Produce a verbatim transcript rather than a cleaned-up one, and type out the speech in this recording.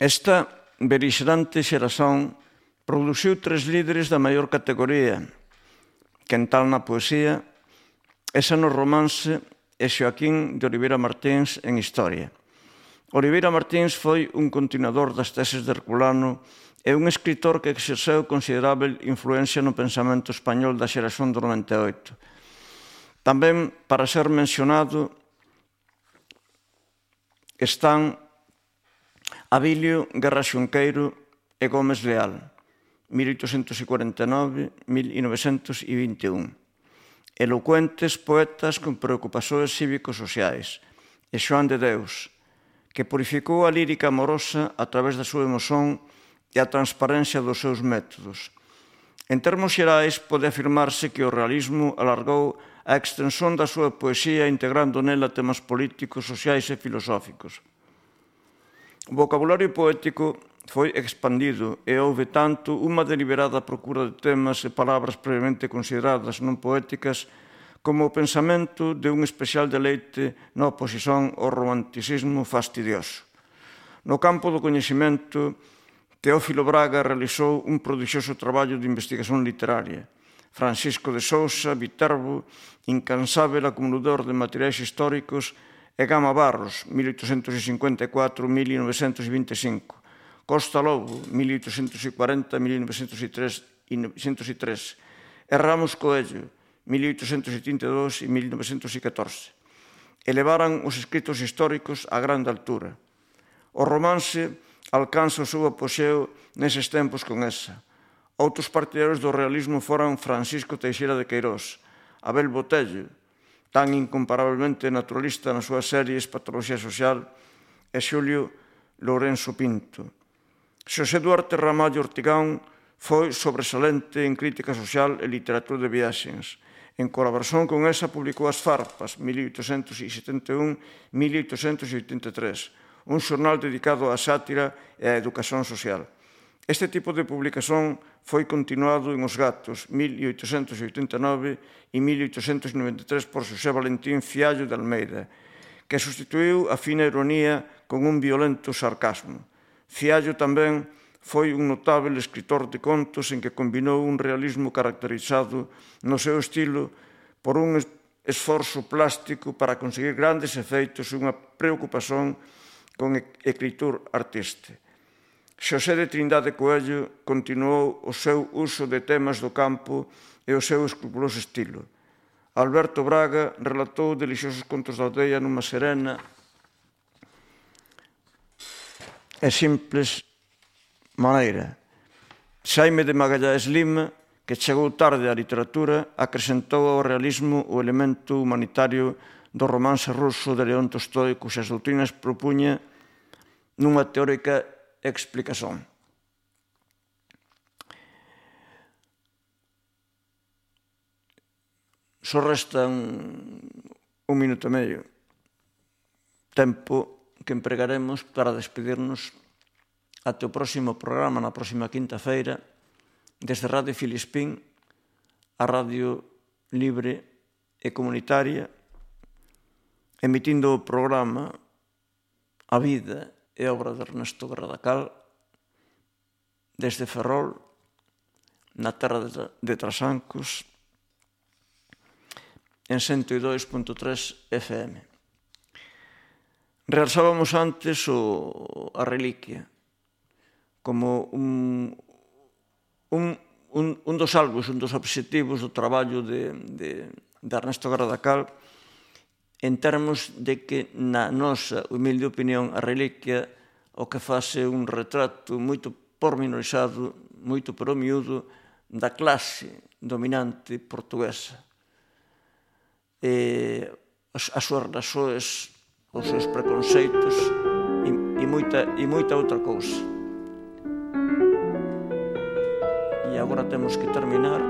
Esta berixerante xeración produciu tres líderes da maior categoría, Quental na poesía, Esa no romance e Xoaquín de Oliveira Martins en historia. Oliveira Martins foi un continuador das teses de Herculano e un escritor que exerceu considerável influencia no pensamento español da xeración do noventa e oito. Tamén, para ser mencionado, están Abilio Guerra Xunqueiro e Gómez Leal, mil oitocentos cuarenta e nove a mil novecentos vinte e un. Elocuentes poetas con preocupacións cívico-sociais. E Xoán de Deus, que purificou a lírica amorosa a través da súa emoción e a transparencia dos seus métodos. En termos xerais, pode afirmarse que o realismo alargou a extensión da súa poesía integrando nela temas políticos, sociais e filosóficos. O vocabulario poético foi expandido e houve tanto unha deliberada procura de temas e palabras previamente consideradas non poéticas como o pensamento de un especial deleite na oposición ao romanticismo fastidioso. No campo do coñecemento, Teófilo Braga realizou un prodixioso traballo de investigación literaria. Francisco de Sousa, Viterbo, incansável acumulador de materiais históricos, e Gama Barros, mil oitocentos cincuenta e catro a mil novecentos vinte e cinco. Costa Lobo, mil oitocentos cuarenta a mil novecentos e tres, e Ramos Coello, mil oitocentos setenta e dous e mil novecentos catorce. Elevaran os escritos históricos a grande altura. O romance alcanza o seu apogeo neses tempos con esa. Outros partidarios do realismo foran Francisco Teixeira de Queirós, Abel Botello, tan incomparablemente naturalista nas súas series Patoloxía Social, e Xulio Lourenço Pinto. Xosé Duarte Ramallo Ortigán foi sobresalente en crítica social e literatura de viaxes. En colaboración con esa publicou As Farpas, mil oitocentos setenta e un a mil oitocentos oitenta e tres, un xornal dedicado á sátira e á educación social. Este tipo de publicación foi continuado en Os Gatos, mil oitocentos oitenta e nove e mil oitocentos noventa e tres por Xosé Valentín Fiallo de Almeida, que sustituiu a fina ironía con un violento sarcasmo. Fiallo tamén foi un notável escritor de contos en que combinou un realismo caracterizado no seu estilo por un esforzo plástico para conseguir grandes efeitos e unha preocupación con escritor artista. Xosé de Trindade Coello continuou o seu uso de temas do campo e o seu escrupuloso estilo. Alberto Braga relatou delixiosos contos da aldea nunha serena e simples maneira. Xaime de Magalhães Lima, que chegou tarde á literatura, acrescentou ao realismo o elemento humanitario do romance ruso de León Tolstoi, cuxas doutrinas propuña nunha teórica explicación. Só resta un, un minuto e medio, tempo que empregaremos para despedirnos até o próximo programa, na próxima quinta-feira, desde Radio Filispín, a radio libre e comunitaria, emitindo o programa A Vida e obra de Ernesto Gradacal, desde Ferrol, na terra de Trasancos, en ciento dos punto tres F M. Realzábamos antes o, a reliquia como un, un, un, un dos algos, un dos obxectivos do traballo de, de, de Ernesto Gradacal, en termos de que, na nosa humilde opinión, a reliquia o que fase un retrato moito pormenorizado, moito pero miúdo, da clase dominante portuguesa. E as, as súas razóns, os seus preconceitos e, e, moita, e moita outra cousa. E agora temos que terminar